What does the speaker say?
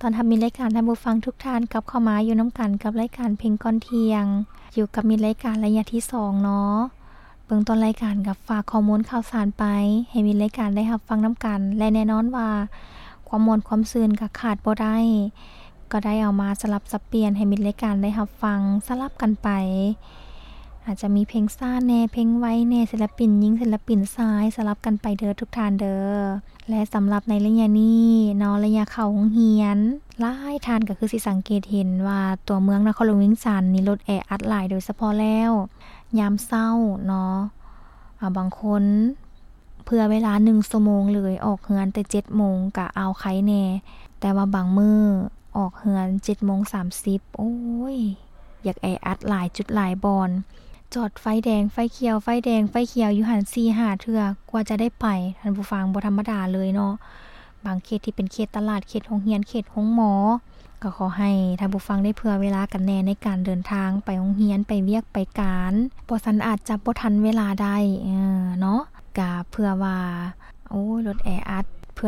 ຕ້ອນຮັບມິດລາຍການທ່ານຜູ້ຟັງທຸກທ່ານກັບເຂົ້າມາຢູ່ນຳກັນກັບລາຍການເພງກ່ອນທ່ຽງ ຢູ່ກັບມິດລາຍການໄລຍະທີສອງເນາະ. ເບື້ອງຕົ້ນລາຍການກໍຝາກຂໍ້ມູນຂ່າວສານໄປໃຫ້ມິດລາຍການໄດ້ຮັບຟັງນຳກັນ ແລະ ແນ່ນອນວ່າຄວາມມ່ວນຄວາມຊື່ນກໍຂາດບໍ່ໄດ້ ກໍໄດ້ເອົາມາສະຫຼັບສັບປ່ຽນໃຫ້ມິດລາຍການໄດ້ຮັບຟັງສະຫຼັບກັນໄປ. ອາດຈະມີເພງຊ້າແດ່ ເພງໄວແດ່ ສິນລະປິນຍິງ ສິນລະປິນຊາຍ ສະຫຼັບກັນໄປເດີທຸກທ່ານເດີ. ແລະ ສຳລັບໃນໄລຍະນີ້ເນາະ ໄລຍະເຂົ້າໂຮງຮຽນ ຫຼາຍທ່ານກໍຄືຊິສັງເກດເຫັນວ່າຕົວເມືອງນະຄອນຫຼວງວຽງຈັນນີ້ລົດແອອັດຫຼາຍ ໂດຍສະເພາະແລ້ວຍາມເຊົ້າເນາະ ອາ ບາງຄົນເຜື່ອເວລາໜຶ່ງຊົ່ວໂມງເລີຍ ອອກເຮືອນແຕ່ເຈັດໂມງກະເອົາໄຄແດ່ ແຕ່ວ່າບາງມື້ອອກເຮືອນເຈັດໂມງສາມສິບ ໂອ້ຍ ຢາກແອອັດຫຼາຍຈຸດຫຼາຍບ່ອນ ຈອດໄຟແດງໄຟຂຽວ ໄຟແດງໄຟຂຽວຢູ່ຫັ້ນສີ່ຫ້າເທື່ອກວ່າຈະໄດ້ໄປ ທ່ານຜູ້ຟັງ ບໍ່ທຳມະດາເລີຍເນາະ. ບາງເຂດທີ່ເປັນເຂດຕະຫຼາດ ເຂດໂຮງຮຽນ ເຂດໂຮງໝໍ ກໍຂໍໃຫ້ທ່ານຜູ້ຟັງໄດ້ເຜື່ອເວລາກັນແດ່ໃນການເດີນທາງໄປໂຮງຮຽນ ໄປວຽກໄປການ ບໍ່ຊັ້ນອາດຈະບໍ່ທັນເວລາໄດ້ ເອີ ເນາະ. ກະເພື່ອວ່າ ໂອ້ຍ ລົດແອອັດ